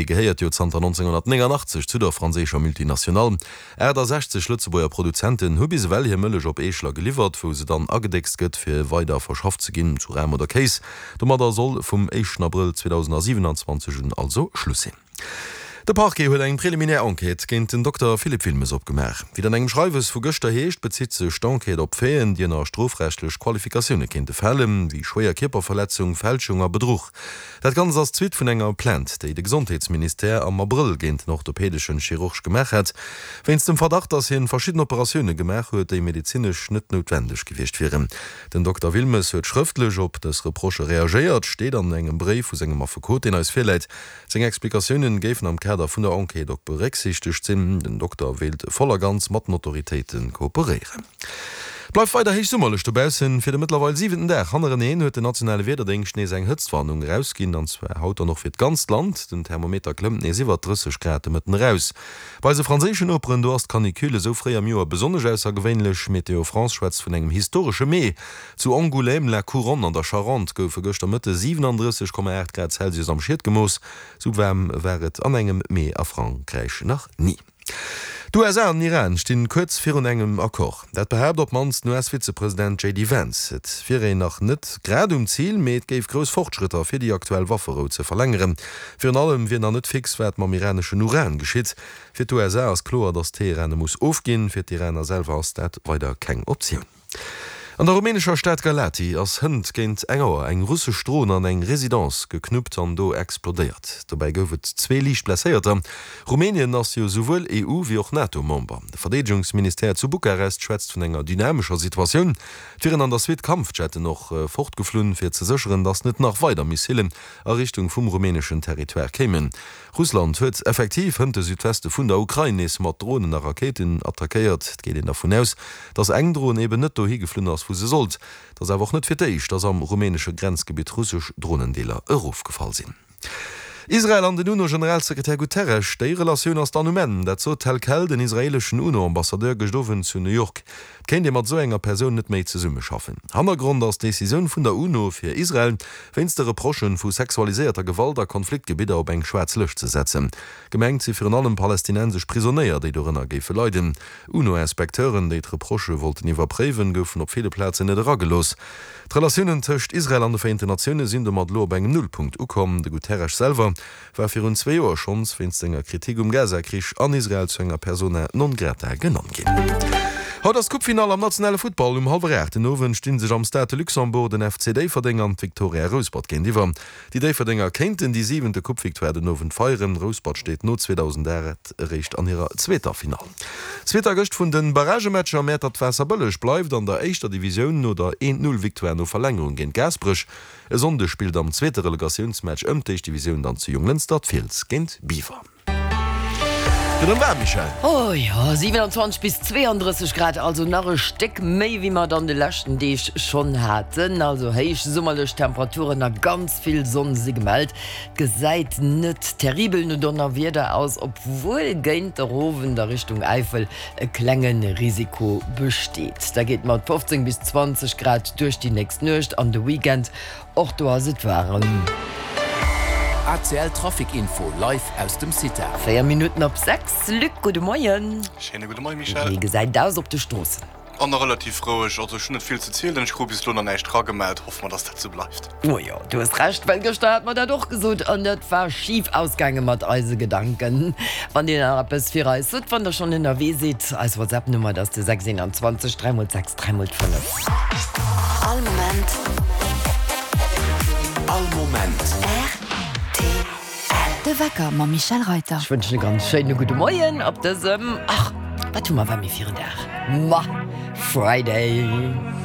Gehéiert jo zanter 1989 zu der franséischer Multinationale. 68 Lëtzebuerger Produzenten hu bis ewell hir Mëllech op Eeschler geliwwert, wou se dann agedéckst gëtt, fir weider verschafft ze ginn zu Ram oder Kéis. Domadder soll vum éischten Abrëll 2027 un also Schluss sinn. De Parquet huet eng préliminaire Enquête géint den Dokter Philippe Wilmes opgemaach. Wéi et an engem Schreiwes vu gëschter heescht, bezitt sech d'Enquête op Faiten, déi ënner strofrechtlech Qualifikatioune kéinte falen, wéi schwéier Kierperverletzung, Fälschung a Bedruch. Dat Ganzt ass d'Suite vun enger Plainte, déi de Gesondheetsministère am Abrëll géint den orthopädeschen Chirurg gemaach hat, wéinst dem Verdacht, datt hien verschidden Operatioune gemaach huet, déi medezinesch net noutwendeg gewiescht wieren. Den Dokter Wilmes huet schrëftlech op dës Reprochë reagéiert, steet an engem Bréif vu sengem Affekot, deen eis virläit. Seng Explikatiounen géifen am Kader vun der Enquête och berécksiichtegt sinn. Den Dokter wéilt voll a ganz mat den Autoritéite kooperéieren. Et bleift weider héich summerlech dobaussen. Fir de mëttlerweil siwenten Dag hannereneen huet den nationale Wiederdéngscht nees eng Hëtztwarnung erausginn, an zwar haut dann och fir d'ganzt Land. Den Thermometer klëmmt nees iwwert 30 Grad de Mëtten eraus. Bei eise franséischen Noperen, do ass d'Canicule esou fréi am Joer besonnesch aussergewéinlech. Météo France schwätzt vun engem historesche Mee. Zu Angoulême-la-Couronne an der Charente goufe gëschter Mëtte 37,8 Grad Celsius am Schiet gemooss. Sou waarm war et an engem Mee a Frankräich nach ni. D'USA an den Iran stinn kuerz virun engem Accord. Dat behaapt op d'mannst den US-Vizepresident JD Vance. Et wier een nach net grad um Zil, mee et géif grouss Fortschrëtter fir déi aktuell Wafferou ze verlängeren. Virun allem wier nach net fix, wat mam iraneschen Uran geschitt. Fir d'USA ass kloer, datt Teheran e muss ofginn. Fir d'Iraner selwer ass dat weider keng Optioun. An der rumänescher Stad Galati ass hënt géint eng Auer eng russesch Dron an eng Residence geknuppt an do explodéiert. Dobäi gouf et zwee liicht Blesséierter. Rumänien ass jo souwuel EU wéi och NATO-Member. De Verdeedegungsministère zu Bukarest schwätzt vun enger dynamescher Situatioun. Et wieren an der Suite Kampfjetten och fortgeflunn, fir ze sécheren, datt net nach weider Missilen a Richtung vum rumäneschen Territoire kéimen. Russland huet effektiv hënt de Südweste vun der Ukrain nees mat Dronen a Rakéiten attackéiert. Et geet een dervun aus, datt eng Dron eben net dohi geflunn ass, wou se sollt. Et ass awer och net fir d'éischt, datt am rumänesche Grenzgebitt russesch Dronendeeler erofgefall sinn. Israel an den UNO-Generalsekretär Guterres, déi Relatioun ass dann um Enn. Dat sot tel quel den israeeleschen UNO-Ambassadeur gëscht Owend zu New York. Et kéint ee mat esou enger Persoun net méi zesummeschaffen. Hannergrond ass d'Decisioun vun der UNO, fir Israel wéinst de Reprochë vu sexualiséierter Gewalt a Konfliktgebidder op eng schwaarz Lëscht ze setzen. Gemengt si virun allem palästinensesch Prisonéier, déi dorënner géife leiden. UNO-Inspecteuren, déi d'Reprochë wollten iwwerpréiwen, goufen op ville Plazen net eragelooss. D'Relatiounen tëscht Israel an de Vereenten Natioune sinn domat elo op engem Nullpunkt ukomm. De Guterres selwer war virun zwee Joer schonns wéinst senger Kritik um Gaza-Krich an Israel zu enger Persona non grata genannt ginn. Haut ass d'Coupefinall am nationale Futtball. Um hallwer 8 den Owend sti sech am Stade de Luxembourg den FC Déifferdeng an d'Victoria Rouspert géintiwwer. Déi Déifferdenger kéinten déi siwente Coupe-Victoire den Owend feieren. Rouspert steet no 2008 eréischt an hirer zweeter Finall. Zweeter gëscht vun de Barragematcher, Mäertert-Waasserbëlleg bleift an der éischter Divisioun no der Eent-Null-Victoire no Verlängerung géint Gaasperech. E Sonndeg spillt am zweete Relegatiounsmatch ëm d'éischt Divisioun dann zu Jonglënster d'Fiels géint Biwer. Gëtt erëm waarm, Michèle? Oh jo, 27 bis 32 Grad, also nach e Stéck méi wéi mer et an de leschten Deeg schonn haten. Also héich summerlech Temperaturen a ganz vill Sonn si gemellt. Et gesäit net terribel no Donnerwieder aus, obwuel géint der Owend a Richtung Äifel e klenge Risiko besteet. Da geet mat 15 bis 20 Grad duerch déi nächst Nuecht an de Weekend, och do ass et waarem. ACL Trafic Info live aus dem CITA. 4 Minutten op 6, Luc, gudde Moien. Schéine gudde Moien, Michèle. Wéi gesäit et aus op de Stroossen? An nach relativ roueg, also ech hunn net vill ze zielen, ech krut bis elo nach näischt ragemellt, hoffe mer dass dat sou bleift. Oh jo, du hues Recht, well gëschter hat mer dat och gesot an dat war schif ausgaange mat eise Gedanken. Wann dir nach eppes fir eis hutt, wann der schonn ënnerwee sidd, eis WhatsApp Nummer dat ass de 6 21 3 mol 6 3 mol 5. All Moment. All Moment. Rtl. De Wecker mam Michèle Reyter. Ech wënschen e ganz schéine gudde Moien op dësem, ach, wat hu mer, wat mir fir en Dag? Ma Friday!